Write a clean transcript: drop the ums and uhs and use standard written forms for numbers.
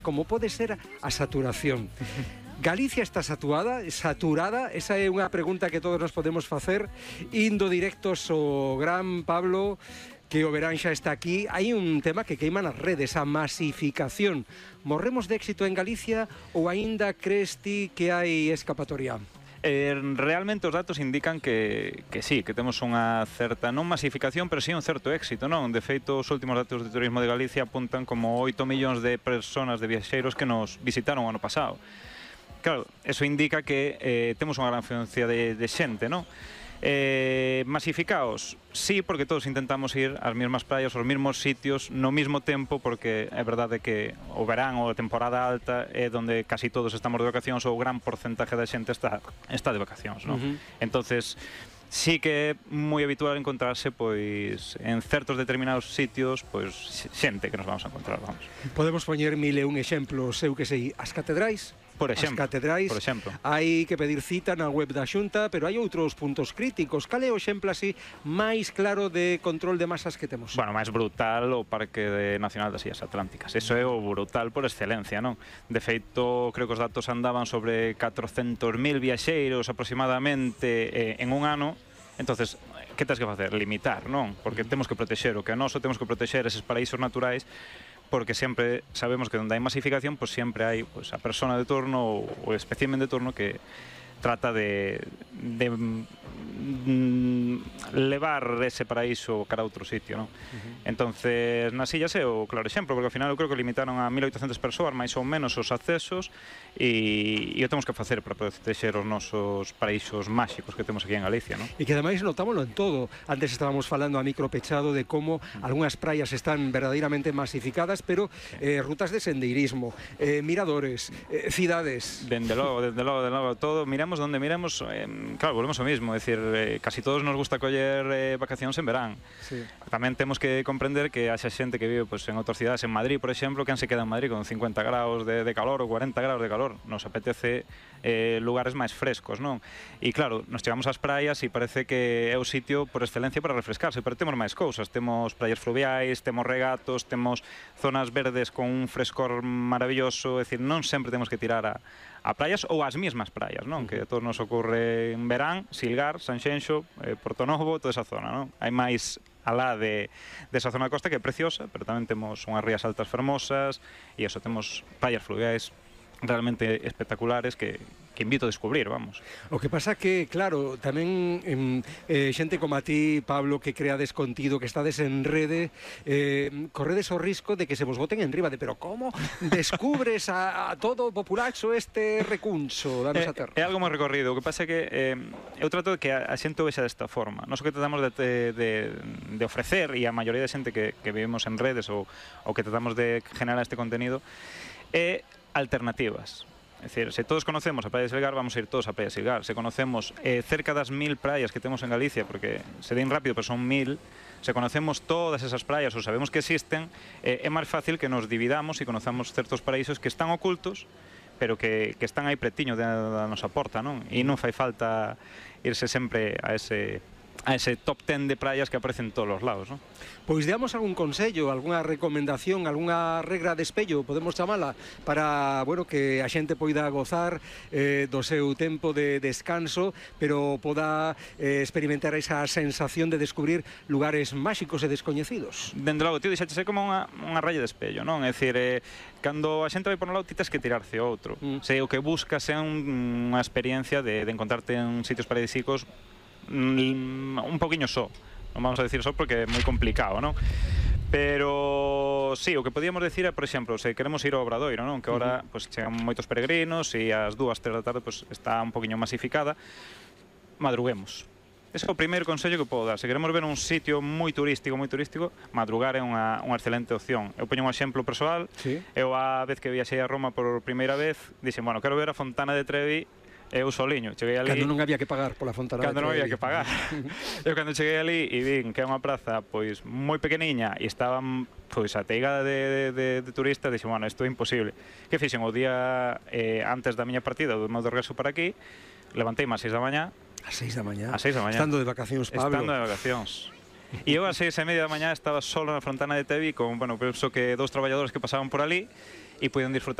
como pode ser a saturación. Galicia está saturada? Esa é unha pregunta que todos nos podemos facer indo directos ao gran Pablo, que o verán xa está aquí. Hai un tema que queima nas redes, a masificación. Morremos de éxito en Galicia ou aínda crees ti que hai escapatoria? Realmente os datos indican que sí, que temos unha certa, non masificación, pero sí un certo éxito, non? De feito, os últimos datos de turismo de Galicia apuntan como 8 millóns de persoas, de viaxeiros que nos visitaron o ano pasado. Claro, eso indica que temos unha gran afluencia de xente, non? Masificaos, sí, porque todos intentamos ir ás mesmas praias, aos mesmos sitios, no mesmo tempo, porque é verdade que o verán ou a temporada alta é onde casi todos estamos de vacacións, ou o gran porcentaje da xente está de vacacións, non? Entonces, sí que é moi habitual encontrarse, pois, en certos determinados sitios, pois, xente que nos vamos a encontrar, vamos. Podemos poñer 1001 exemplos, eu que sei, as catedrais? Por exemplo, as catedrais, hai que pedir cita na web da Xunta, pero hai outros puntos críticos. Cal é o exemplo así máis claro de control de masas que temos? Bueno, máis brutal o Parque Nacional das Illas Atlánticas. Eso é o brutal por excelencia, non? De feito, creo que os datos andaban sobre 400.000 viaxeiros aproximadamente en un ano. Entonces, que tens que facer? Limitar, non? Porque temos que protexer o que a noso, temos que protexer eses paraísos naturais, porque sempre sabemos que onde hai masificación, pois sempre hai a persona de turno ou o espécimen de turno que trata de levar ese paraíso cara a outro sitio, non? Entonces, nas illas é o claro exemplo, porque ao final eu creo que limitaron a 1.800 persoas, máis ou menos, os accesos, e o temos que facer para protexer os nosos paraísos máxicos que temos aquí en Galicia, non? E que ademais notámoslo en todo. Antes estábamos falando a micropechado de como algunhas praias están verdadeiramente masificadas, pero rutas de sendeirismo, miradores, cidades... Dende logo, todo, miramos donde miramos, claro, volvemos ao mismo, é dicir, casi todos nos gusta coller vacacións en verán. Sí. Tamén temos que comprender que haxa xente que vive en outras cidades, en Madrid, por exemplo, que se queda en Madrid con 50 graus de calor ou 40 graus de calor. Nos apetece lugares máis frescos, non? E claro, nos chegamos ás praias e parece que é o sitio por excelencia para refrescarse, pero temos máis cousas. Temos praias fluviais, temos regatos, temos zonas verdes con un frescor maravilloso, é dicir, non sempre temos que tirar a praias ou as mesmas praias, non? Que a todos nos ocorre en verán, Silgar, Sanxenxo, Portonovo, toda esa zona, non? Hai máis alá desa zona de costa que é preciosa, pero tamén temos unhas rías altas fermosas e eso, temos praias fluviais realmente espectaculares que invito a descubrir, vamos. O que pasa que, claro, tamén xente como a ti, Pablo, que creades contido, que estades en rede, corredes o risco de que se vos boten en riba de, pero como descubres a todo o populacho este recuncho da nosa terra? É algo moi recorrido. O que pasa é que eu trato de que a xente o vexa desta forma. Nós o que tratamos de ofrecer, e a maioría de xente que vivimos en redes ou que tratamos de generar este contenido, é alternativas. É dicir, se todos conocemos a Praia de Silgar, vamos a ir todos a Praia de Silgar. Se conocemos cerca das 1000 praias que temos en Galicia, porque se din rápido, pero son 1000, se conocemos todas esas praias ou sabemos que existen, é máis fácil que nos dividamos e conozamos certos paraísos que están ocultos, pero que están aí pretiño da nosa porta, non? E non fai falta irse sempre a ese top 10 de praias que aparecen en todos os lados, non? Pois deamos algún consello, algunha recomendación, algunha regra de espello, podemos chamala, para, bueno, que a xente poida gozar do seu tempo de descanso, pero poda experimentar esa sensación de descubrir lugares máxicos e descoñecidos. Dende logo, tío, dixaxe como unha raya de espello, non? É dicir, cando a xente vai por un lado, ti tes que tirarse outro. Se o que buscas é unha experiencia de encontrarte en sitios paradisíacos un poquinho só, non vamos a decir só porque é moi complicado, non? Pero sí, o que podíamos decir é, por exemplo, se queremos ir ao Obradoiro, non? Que agora chegan moitos peregrinos e ás 2, 3 da tarde está un poquinho masificada, madruguemos. Ese é o primeiro consello que podo dar. Se queremos ver un sitio moi turístico, madrugar é unha excelente opción. Eu poño un exemplo persoal. Eu a vez que viaxei a Roma por primeira vez, dixen, bueno, quero ver a Fontana de Trevi eu soliño, cheguei ali... Cando non había que pagar pola Fontana de Trevi. Cando non había que pagar. Eu cando cheguei ali e vin que é unha praza pois moi pequeniña e estaban pois ateigada de turistas, dixen, bueno, isto é imposible. Que fixen o día antes da miña partida, do meu regreso para aquí, levanteime ás 6 da mañá. Ás 6 da mañá? Ás 6 da mañá. Estando de vacacións, Pablo. Estando de vacacións. E eu ás 6:30 da mañá estaba solo na Fontana de Trevi con, bueno, penso que 2 traballadores que pasaban por ali. e poden disfrutar